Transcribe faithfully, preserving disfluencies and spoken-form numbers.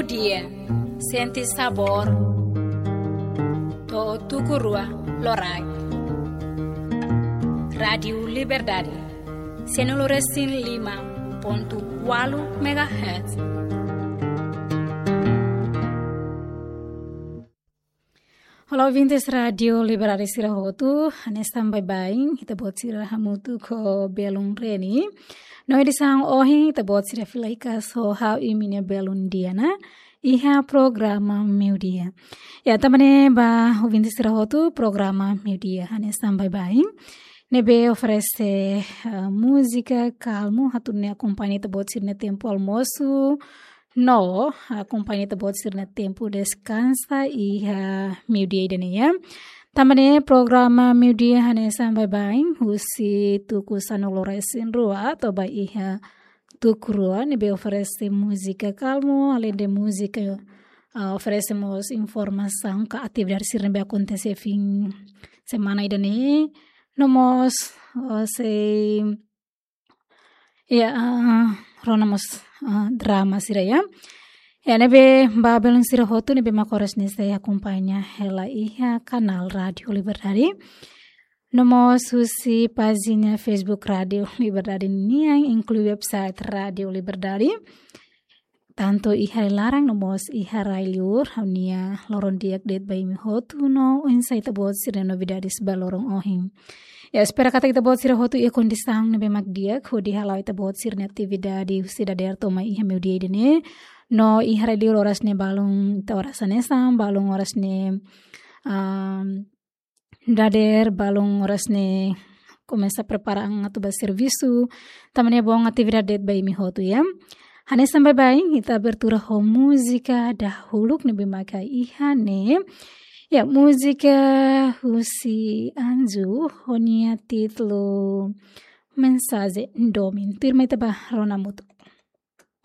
Dia, sente sabór to'o tuku rua loraik. Rádiu Liberdade, sianulu resin lima pontu ualu megahertz. Olá, ouvintes Rádiu Liberdade sira hotu, hanesan baibain, ita-boot sira hamutuk ho belun Reni. No edisaun ohin, ita-boot sira fila hikas ho ha'u imi-nia belun Diana, iha programa Meiudia. Ya, tanba ne'e ba ouvintes sira hotu, programa Meiudia, hanesan baibain. Ne'ebé oferese, eh, múzika kalmu, atu nune'e akompaña ita-boot sira-nia tempu almosu, no akompaña ita-boot sira-nia tempu deskansa iha meiudia ida-ne'e, ya. Tanba ne'e programa Meiudia hanesan baibain, husi tuku sanulu resin rua, to'o ba iha tuku rua, ne'ebé oferese múzika kalmu, aleinde múzika, ah, oferese mós informasaun ka atividade sira ne'ebé akontese fin semana ida-ne'e, no mós, ah, sei Ya, ah, rona mós, ah, drama sira ya. Ya, ne'ebé ba belun sira hotu ne'ebé mak oras ne'e sei akompaña hela iha kanál Rádiu Liberdade. No mós husi pájina Facebook Rádiu Liberdade nian, inklui website Rádiu Liberdade. Tantu iha rai-laran no mós iha rai-liur, ha'u-nia loron di'ak de'it ba imi hotu no oinsá ita-boot sira-nia novidades ba loron ohin. Ya, espera katak ita-boot sira hotu iha kondisaun ne'ebé mak di'ak, hodi hala'o ita-boot sira-nia atividade husi dadeer to'o mai iha meiudia ida-ne'e. No iha rai-liur oras ne'e balun, ita oras hanesan, balun oras ne'e, am, dadeer, balun oras ne'e komesa prepara an atu ba servisu. Tanba ne'e bom atividade de'it ba imi hotu ya. Hanesan baibain, ita abertura ho múzika dahuluk ne'ebé maka iha ne'e. Ya, múzika husi Anju, ho nia títulu Mensajen Domin. Tuirmai ita ba rona hamutuk.